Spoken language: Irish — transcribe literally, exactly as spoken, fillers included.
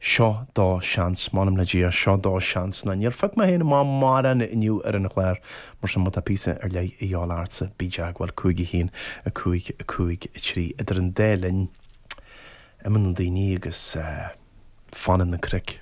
Seo do sheans, m'anam le Dia, seo do sheans. Ná níor phioc mé féin amach mórán inniu ar an chlár, mar sin má tá píosa ar leith a dhíobháil ortsa, bí i dteagmháil, cúig a haon, a cúig, a cúig, a trí. Idir an dá linn, imíonn na daoine agus fanann na cnoic.